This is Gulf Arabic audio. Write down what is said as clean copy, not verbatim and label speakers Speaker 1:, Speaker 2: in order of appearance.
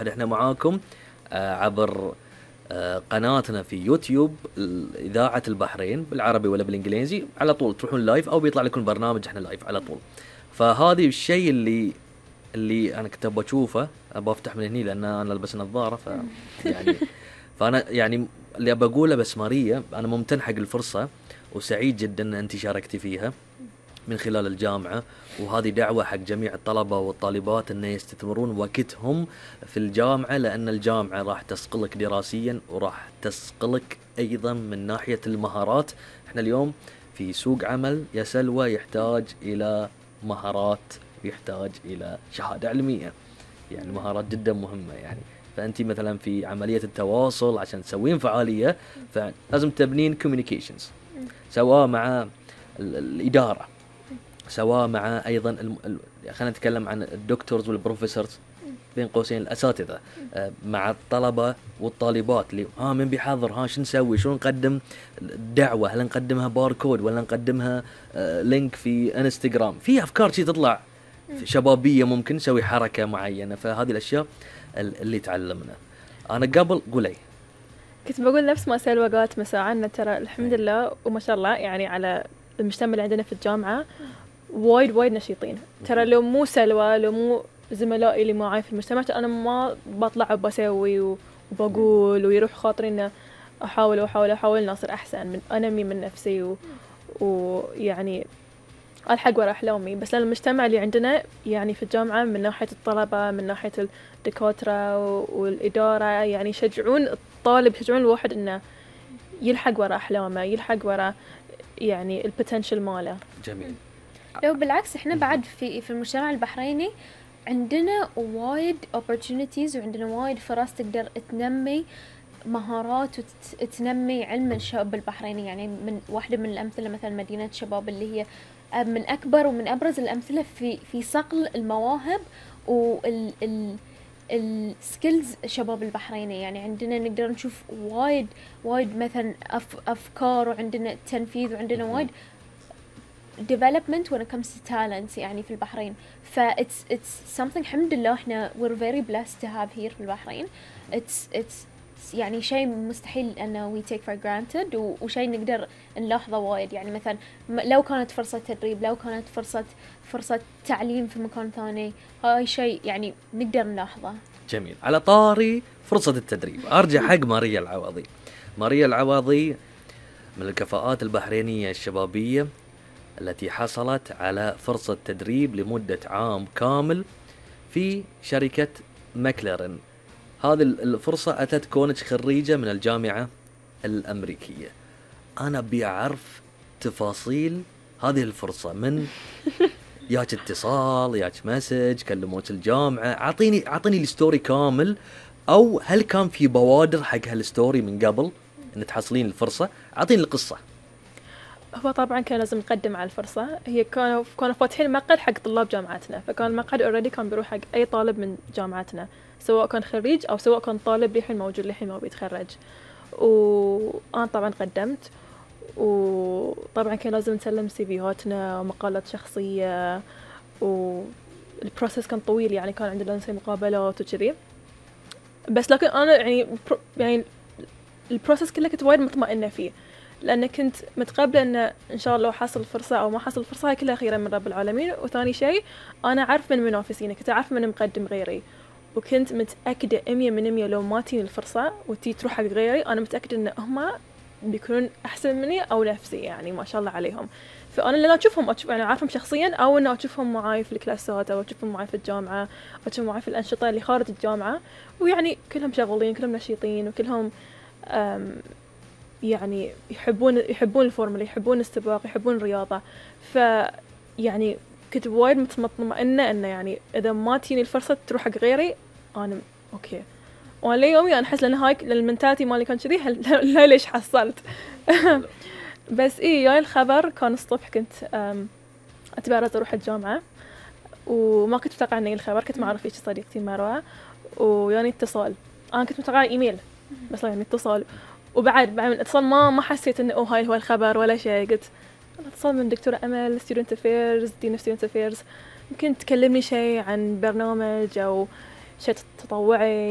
Speaker 1: احنا معاكم عبر قناتنا في يوتيوب إذاعة البحرين بالعربي ولا بالإنجليزي، على طول تروحون لايف أو بيطلع لكم برنامج احنا لايف على طول. فهذه الشيء اللي أنا كنت بشوفه، بفتح من هني لأن أنا ألبس نظارة يعني فأنا يعني اللي بقوله بس ماريا، أنا ممتن حق الفرصة وسعيد جدا أن أنت شاركتي فيها من خلال الجامعة، وهذه دعوة حق جميع الطلبة والطالبات أن يستثمرون وقتهم في الجامعة، لأن الجامعة راح تسقلك دراسيا وراح تسقلك أيضا من ناحية المهارات. احنا اليوم في سوق عمل يا سلوى يحتاج إلى مهارات ويحتاج إلى شهادة علمية، يعني مهارات جدا مهمة يعني. فأنت مثلا في عملية التواصل عشان تسوين فعالية فلازم تبنين communications، سواء مع الإدارة، سواء مع أيضا خلينا نتكلم عن الدكتورز والبروفيسورز بين قوسين الأساتذة، مع الطلبة والطالبات اللي من بيحضر، شو نسوي، شو نقدم دعوة، هل نقدمها باركود ولا نقدمها لينك في انستغرام، في أفكار شي تطلع شبابية ممكن نسوي حركة معينة. فهذه الأشياء اللي تعلمنا. أنا قبل قولي
Speaker 2: كنت بقول نفس ما سلوى قالت مساعدنا، ترى الحمد لله وما شاء الله يعني على المجتمع اللي عندنا في الجامعة وايد نشيطين. ترى لو مو سلوى، لو مو زملائي اللي معاي في المجتمع، أنا ما بطلع وبسوي وبقول ويروح خاطري إنه أحاول ناصر أحسن من أنمي من نفسي ويعني ألحق ورا أحلامي. بس لأن المجتمع اللي عندنا يعني في الجامعة من ناحية الطلبة، من ناحية الدكاترة والإدارة، يعني يشجعون الطالب، يشجعون الواحد إنه يلحق ورا أحلامه، يلحق ورا يعني البوتنشل ماله.
Speaker 1: جميل.
Speaker 3: لو بالعكس احنا بعد في المجتمع البحريني عندنا وايد opportunities وعندنا وايد فرص تقدر تنمي مهارات وتنمي علم الشباب البحريني. يعني من واحدة من الأمثلة مثلا مدينة شباب اللي هي من أكبر ومن أبرز الأمثلة في صقل المواهب السكيلز شباب البحريني. يعني عندنا نقدر نشوف وايد مثلا أفكار، وعندنا تنفيذ، وعندنا وايد development when it comes to talents يعني في البحرين. it's something الحمد لله احنا we're very blessed to have here في البحرين. it's يعني شيء مستحيل انه we take for granted وشيء نقدر نلاحظه وايد. يعني مثلا لو كانت فرصة تدريب، لو كانت فرصة تعليم في مكان ثاني، هاي شيء يعني نقدر نلاحظه.
Speaker 1: جميل. على طاري فرصة التدريب ارجع حق ماريا العواضي. ماريا العواضي من الكفاءات البحرينية الشبابية التي حصلت على فرصة تدريب لمدة عام كامل في شركة ماكلارين. هذه الفرصة أتت كونج خريجة من الجامعة الأمريكية. أنا بيعرف تفاصيل هذه الفرصة، من ياك اتصال، ياك مسج، كلموك الجامعة، أعطيني الستوري كامل، أو هل كان في بوادر حق هالستوري من قبل أن تحصلين الفرصة؟ أعطيني القصة.
Speaker 2: هو طبعا كان لازم نقدم على الفرصة. هي كانوا فاتحين مقعد حق طلاب جامعتنا، فكان المقعد already كان بيروح حق أي طالب من جامعتنا، سواء كان خريج أو سواء كان طالب للحين موجود للحين ما بيتخرج. وأنا طبعا قدمت، وطبعا كان لازم نسلم سيفيهاتنا ومقالات شخصية، والبروسيس كان طويل يعني كان عندنا نسوي مقابلات وكذي. بس لكن أنا يعني البروسيس كله كنت وايد مطمئنة فيه، لأن كنت متقبلة إن شاء الله حصل فرصة أو ما حصل فرصة هاي كلها خيرا من رب العالمين. وثاني شيء أنا عارف من منافسيني، كنت عارف من مقدم غيري، وكنت متأكدة 100% لو ما تيني الفرصة تروح حق غيري، أنا متأكدة إن هما بيكونون أحسن مني أو نفسي، يعني ما شاء الله عليهم. فأنا اللي أشوفهم يعني عارفهم شخصيا، أو إنه أشوفهم معاي في الكلاسات، أو أشوفهم معاي في الجامعة، أو أشوفهم معاي في الأنشطة اللي خارج الجامعة، ويعني كلهم شغالين، كلهم نشيطين، وكلهم يعني يحبون الفورمولا، يحبون السباق، يحبون الرياضة. فيعني كنت وايد مطمئنة إنه يعني إذا ما تيني الفرصة تروح حق غيري أنا أوكي. وأنا ليومي أنا أحس لأن هاي المنتاليتي مالي كان كذي، لا ليش حصلت. بس جاي الخبر كان الصبح، كنت أتبرز أروح الجامعة، وما كنت متوقعة إني الخبر. كنت معرف إيش صديقتي مروة، ويعني اتصال، أنا كنت متوقعة إيميل، بس يعني اتصال. وبعد من الاتصال ما حسيت إنه هاي هو الخبر ولا شيء. قلت اتصال من دكتورة أمل Student Affairs، Dean of Student Affairs، يمكن تكلمني شيء عن برنامج أو شيء تطوعي